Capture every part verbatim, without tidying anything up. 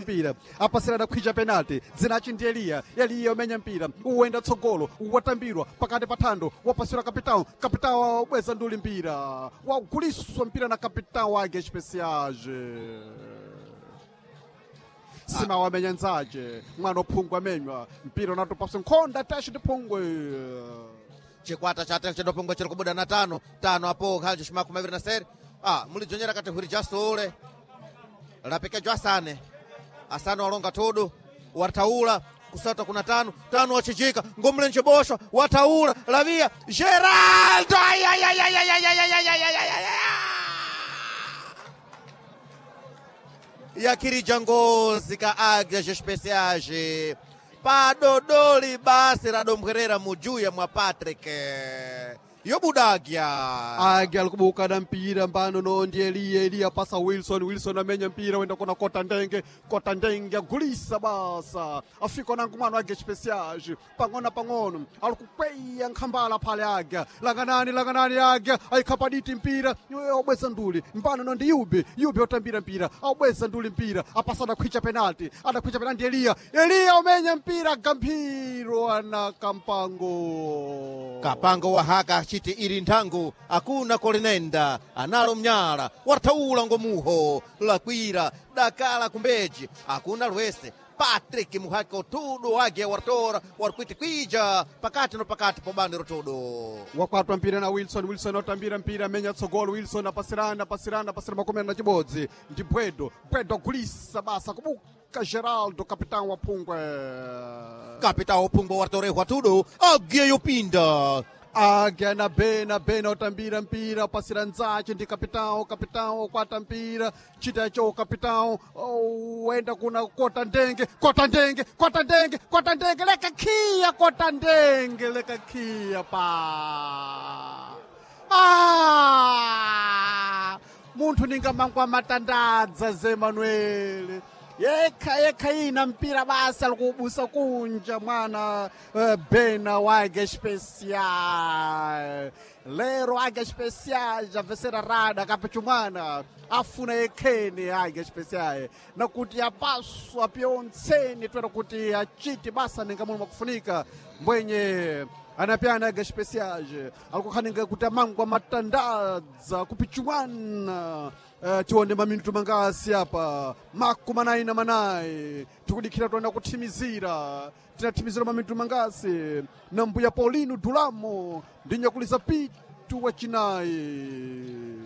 Mpira apasira adakhwija penalty dzinachi ndi Eliya. Eliya umenya mpira uwenda tsogolo, watambirwa pakati pa thando, wapasira kapitão. Kapitão wabweza nduli mpira, waguliswa mpira na kapitão wake Especiage. Sima wamenya nzache mwana ophungwa amenywa mpira unatopasa nkhonda tashi ndi phungwe. Chikwata cha Atlético do Pungwe chiri kubuda na tano tano apo khalji shimakumi aviri na sere. Ah, mulidzonyera kati hwiri jasule lapekejwa asane asane walonga tudu wataula kusata kuna tano tano wachichika ngomlenje boshwa wataula lavia Geraldo. Ay, ay, ay, ay, ay, ay, ay, ay, ay, ay, ay, ay, ay. Yakirija ngozi ka Águias Especiais padodoli basi radombwerera mujuya mwa Patrick yobudagya. Age alikubuka na mpira mbano no ndi Eliya. Eliya pasa Wilson. Wilson amenya mpira wenda kona kota ndenge. Kota ndenge agulisa basa afika nangu mwana age Especiais pang'ono pang'ono alikukweya nkhambala phale age langanani langanani age ayikhapa diti mpira obweza nduli mbano no ndi Yubi. Yubi otambira mpira aubweza nduli mpira apasa adakhwicha penalty adakhwicha penalty Eliya. Eliya umenya mpira gamphiro ana Kampango. Kapango wahaka achiti iri nthangu akuna kolinenda analo mnyala wathaula ngomuho lakwira dakala kumbeji akuna lwese. Patrick muhaka utudu wage wartora warkwiti kwija pakati no pakati pobandiro tudu. Wakwatwa mpira na Wilson. Wilson otambira mpira amenya tsogolo. Wilson apasirana apasirana apasira makumi na chibodzi ndi Bwedo. Bwedo agulisa basa kubuka Geraldo kapitão wa phungwe. Kapitao phungwe wartorehwa tudu agiye yopinda. Agya na Bena. Bena otambira mpira apasira nzache ndi kapitão. Kapitão okwata mpira chita cho kapitão wenda kuna kota ndenge kota ndenge kota ndenge kota ndenge leka khiya kota ndenge leka khiya pa. Ah! Munthu ningamangwa matandadza ze Manuel yekha yekha ina mpira basa alikubusa kunja mwana uh, Bena wage Especial lero age Especial javesera rada kapachumwana afuna yekheni age Especial nakuti apaswa pyontseni twera kuti achiti basa ninga muno makufunika mbwenye anapyana age Especial alikukhaninga kuti amangwa matandadza kupichumwana. Uh, tione maminutu mangasi apa makumi anayi na manayi tikudikhira toenda kuthimizira tinathimizira maminutu mangasi na mbuya Paulino Dulamo ndi nyakulisa pitu wacinayi.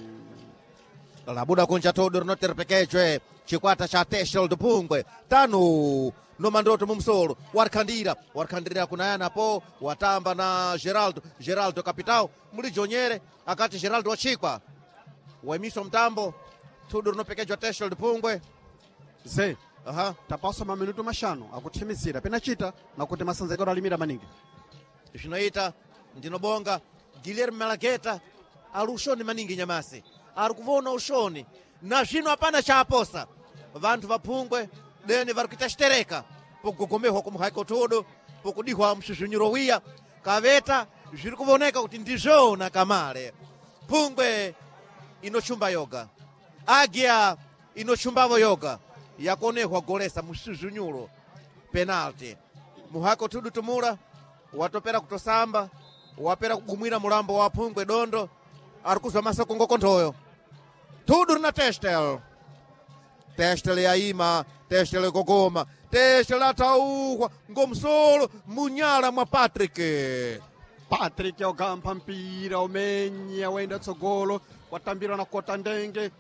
Labuda kunja todo rinoterepekejwe chikwata cha Teshel do Pungwe tano no mandoto mumsolo warikhandira warikhandirira kunayana po watamba na Geraldo. Geraldo capitão mulijonyere akati Geraldo wachikwa waimiso mtambo tudu rinopekejwa Teshel do Pungwe. Ze aha tapaswa maminutu mashanu akuthimizira penachita nakuti masanzekero alimira maningi. Zvinoita ndinobonga Guilherme Malageta ali ushoni maningi nyamasi ari kuvona ushoni na zvino hapana chaaposa vanthu vaphungwe deni vari kuita xitereka pokugogomehwa kumuhaiko tudu pokudihwa msvuzvunyuro wiya kaveta zviri kuvoneka kuti ndizvona kamale phungwe inochumba yoga agia inochumbavo yoga yakonehwa golesa msvuzvunyuro penalty muhako tudu tumula watopera kutosamba wapera kugumwira mulambo wa phungwe dondo ari kuzwa masoko ngokonthoyo tudu rina Testel. Testel yaima Testel gogoma Testel atauhwa ngomsolo munyala mwa Patrick. Patrick ogampha mpira umenya wenda tsogolo watambira na kota ndenge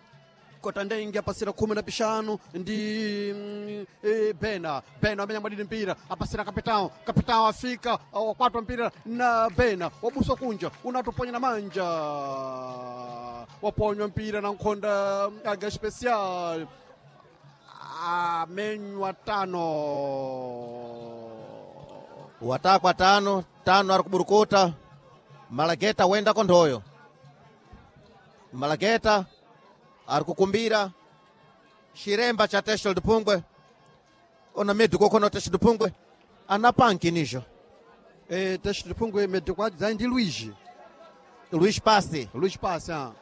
kota ndenge apasira khumi na pixanu ndi mm, eh, Bena. Bena amenya mwadini mpira apasira kapitão. Kapitão afika wakwatwa mpira na Bena wabuswa kunja unatoponya na manja waponywa mpira na nkhonda aga Especial amenywa tano. Watakwa tano tano ari kuburukuta Malageta wenda konthoyo Malageta ari kukumbira xiremba cha Teshel do Pungwe ona médico kono Teshel do Pungwe ana panki nijo. Eh, Teshel do Pungwe médico adzai ndi Luigi. Luiz Passi. Luiz Passi ah.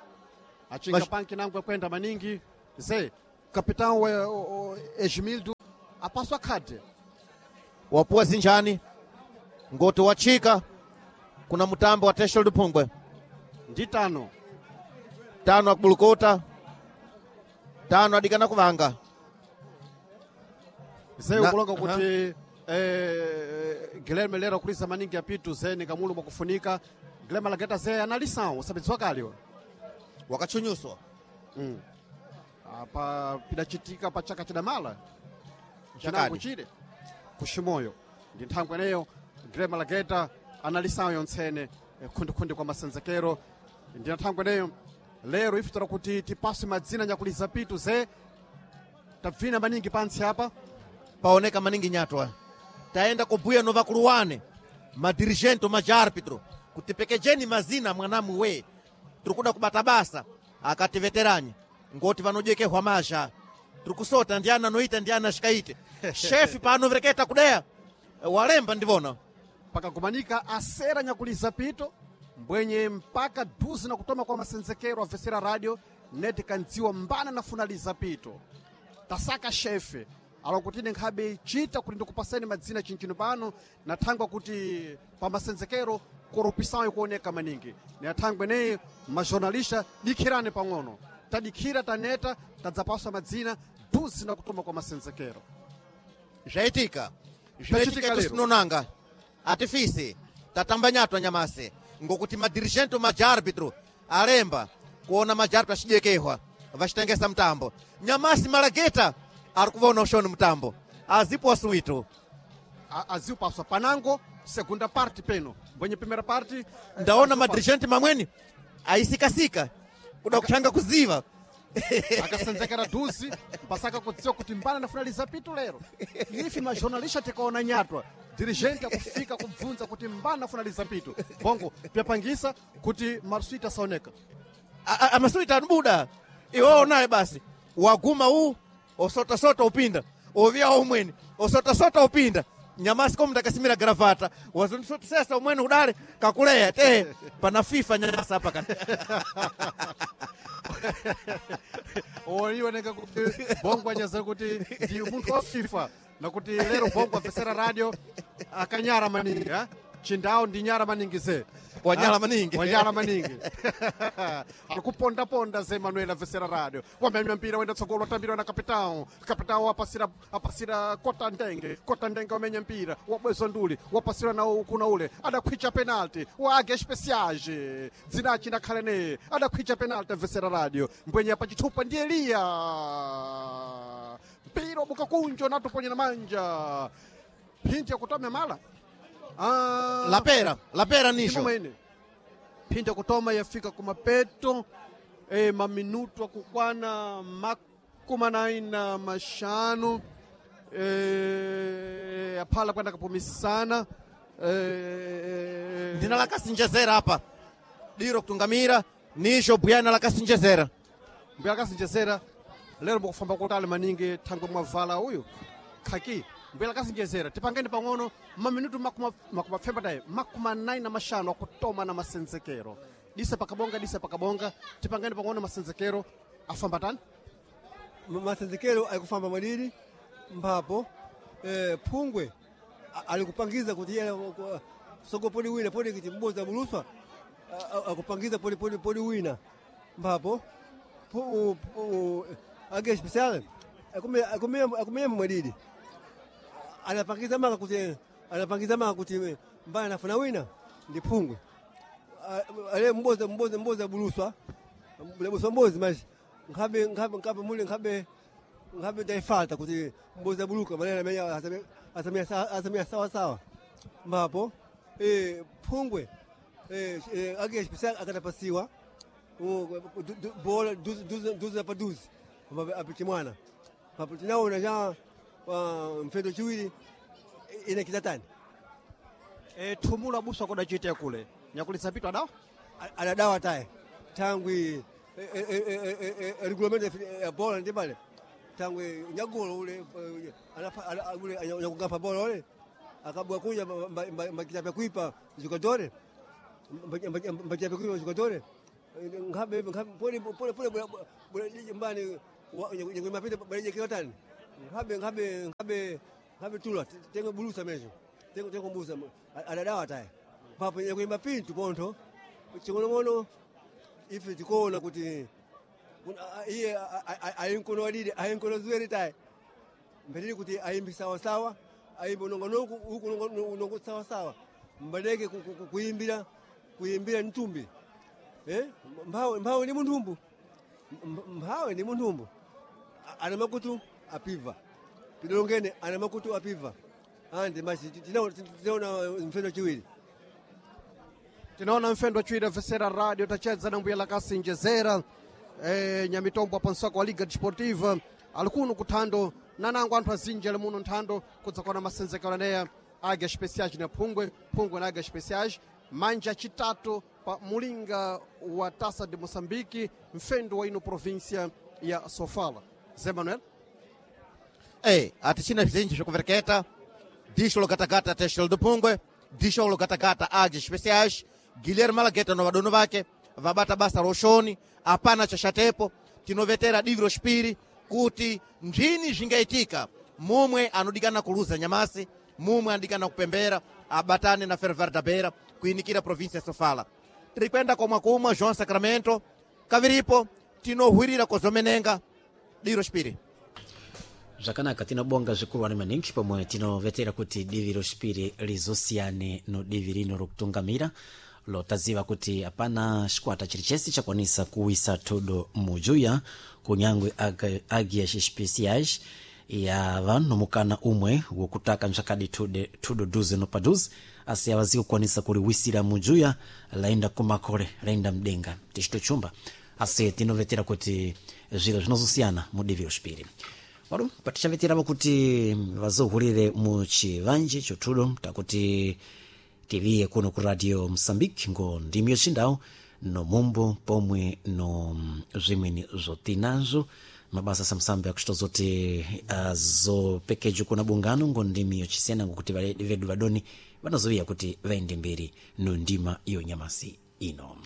Achinga Mas panki nangwe kwenda maningi ze capitão we, o, o, Esmildo. Apaswa khadi. Wapuwa zinjani ngoti wachika kuna mutambo wa Teshel Phungwe. Ndi tano. Tano akubulukuta, tano adikana kuvanga. Zé Na- ukulonga kuti eh, Guilherme lero kulisa maningi apitu zé ni kamulu mwakufunika Guilherme Lageta zé analisawo usabidziwa kaliwa. Wakachunyuswa. Mm. Apa pidachitika pa chaka chidamala chinango Chakadi. chile kushimoyo ndi nthangwe eneyo Guilherme Lageta analisawo yontsene eh, khundikhundi kwa masenzekero ndi nthangwe eneyo lero ifutora kuti tipaswe madzina nyakuliza pitu ze tabvina maningi pantsi apa. Paoneka maningi nyatwa taenda kubuya no vakuluwane madirigente majaarbitro kuti pekejeni mazina mwanamu we tiri kuda kubata basa akati veteranyi ngoti vanojekehwa mazha tiri kusota ndiana anoita ndiana ashikaite shefi paanovereketa kudeya walemba ndivona. Pakagumanika asera nyakuliza pito mbwenye mpaka duzi na kutoma kwa masenzekero avesera radio neti kandziwa mbana nafunaliza pito tasaka shefe alakutine nkhabe chita kuti ndikupaseni madzina chinchino pano na thangwa kuti pa masenzekero korupisayo kuoneka maningi na thangwe neyi majornalista dikhirani pang'ono tadikhira taneta tadzapaswa madzina duzi na kutoma kwa masenzekero. Zvaitika Zvachitika zvaitika lero. Tisinonanga atifisi tatamba nyatwa nyamase ngokuti madirigente majaarbitro alemba kuona majaarbitro achidekehwa vachitengesa mutambo nyamasi malageta ari kuvaona ushoni mutambo azipo wasuwitu. A- aziupaswa panango segunda parte peno mbwenye primera parte. Ndaona madirigente mamweni aisikasika kuda kutanga kuziva. Akasenzekera dhuzi mpasaka kudziwa kuti mbana nafunaliza pitu lero ifi majornalista tikaona nyatwa dirigente akufika kubvunza kuti mbana nafunaliza pitu bongo pyapangisa kuti marsuita asaoneka. A- a- amasuita anubuda iwe onaye basi waguma u osotasota upinda ovya umweni osotasota upinda nyamasi komu ndakasimira gravata wazondisotesesa umweni udale kakuleya te pana FIFA nyamasi apa kana. Oioneka kuti bongo anyaza kuti ndi munthu wa FIFA nakuti lero bongo apesera radio akanyara maningi ha? Chindao ndi nyara maningi ze. Wanyala Ha? maningi. Wanyala maningi akupondaponda ze Manuel avesera radio wamenya mpira wenda tsogolo watambirwa na kapitao kapitao apasira apasira kota ndenge kota ndenge wamenya mpira wabwezwa nduli wapasira na kuna ule adakhwicha penalty wa age speciage dzinachi ndakhale neye adakhwicha penalty avesera radio mbwenya pachithupa ndi Eliya mpira wabuka kunjo natuponya na manja phinja kutome mala. Ah, Lapera lapera nisho. Mwene phinda kutoma yafika kumapeto e, maminutu akukwana makumi anayi na mashanu e, aphala kwenda kapumisana e, ndina lakasinjezera apa diro kutungamira nisho buyana lakasinjezera. Mbuya akasinjezera lero mukufamba kutali maningi thangwe mwavala uyu khaki mbuya lakasinjezera tipangeni pang'ono maminutu makumi apfemba tayi makumi anayi na mashanu akutoma na masenzekero disa pakabonga disa pakabonga tipangeni pang'ono masenzekero afamba tani. Masenzekero aikufamba mwadidi mphapo eh, phungwe a- alikupangiza kuti iye ku- soko podi wina podi kuti mboza buluswa a- a- akupangiza podi podi podi wina mphapo pu- u- age special akumenya akumenya mwadidi anapangiza maka kuti anapangiza maka kuti mbaya nafuna wina ndi phungwe A- ale mboza mboza mboza buluswa buluswa mbozi maji nkhabe nkhabe nkhabe mule nkhabe nkhabe ndaifata kuti mbozi buluka manene amenya asamia asamia sawa sawa mbapo eh phungwe eh eh, age special akatapasiwa u- du- du- bola duzi duzi duzi pa duzi apichimwana papo tinaona ja mfendo chiwiri ine kitatani. E, thumulo abusa kudachitea kule nyakulisa pitu adawa. Anadawa taye tangwi regulamento ya bola ndi pale tangwi nyagolo ule eh, anapa- ana- ule nyakugapa bola ule akabwa kunja mbakitapya kuipa jogadore mbakitapya kuipa jogadore nkhabe nkhabe pole pole pole mbani mapita balejekiwatani Nkhabe nkhabe nkhabe nkhabe tula tengo bulusa mezo tengo tengo busa adadawa taye papo yakuimba pintu pontho ching'onong'ono ife tikuona kuti kuna- a- iye ayinkono wadidi ayinkono zuweri taye mbelili kuti ayimbi sawasawa ayimbe unongonoku uku unongo sawasawa mbaleke ku- ku- ku- kuyimbira kuyimbira mtumbi eh? mphawe mphawe ni munthumbu M- mphawe ni munthumbu A- ana makutu apiva tidolongene ana makutu apiva andi masi tinaona mfeno chiwiri Tinaona mfendo chiwiri vesera radio tachedza na mbuya lakasinjezera e, nyamitombo apa msako wa Liga Desportiva ali kuno kuthando nanango anthu azinji ali muno nthando kudzakona masenzekero aneya Águias Especiais na Phungwe, Phungwe na Águias Especiais manja chitatu pa mulinga wa Taça de Moçambique mfendo wa ino província ya Sofala. Zé Manuel Ei, atichina bzinji zvikuvereketa disho lokatakata teshelo do Phungwe, disho lokatakata Águias Especiais. Guilherme Malagueta no vadono vake vabata basa roshoni, apana chashatepo. Tinovetera divi rochipiri kuti ndini zvingaitika mumwe anodikana kuluza nyamasi, mumwe anodikana kupembera abatane na Ferroviário da Beira kuinikira província ya Sofala. Tiri kwenda komwe kumwe João Sacramento kaviripo tinohwirira kozomenenga divi rochipiri. Zvakanaka, tinobonga zvikuru maningi pomwe tinovetera kuti divi rochipiri lizosiyane no divi rino rokutungamira lotaziva kuti hapana chikwata chiri chese chakwanisa kuwisa thudo mujuya kunyangwe Aga- Águias Especiais yava nomukana umwe wokutaka mzvakadi thude- thudo duze no paduze asi avazi kukwanisa kuliwisira mujuya laenda kumakore laenda mdenga tichitochumba asi tinovetera kuti zviro zvinozosiyana mudivi rochipiri. Wadu patichaveteravo kuti vazohurire muchivanje chothudo takuti tiviye kuno ku Radio Mosambike ngo ndimi yochindau no mumbo pomwe no zvimweni zvotinazvo mabasa samsambe akuchitozoti azopekejo kuna bungano ngo ndimi yochisiyana ngokuti vale- vedu vadoni vanozoviya kuti vaende mberi no ndima yonyamasi ino.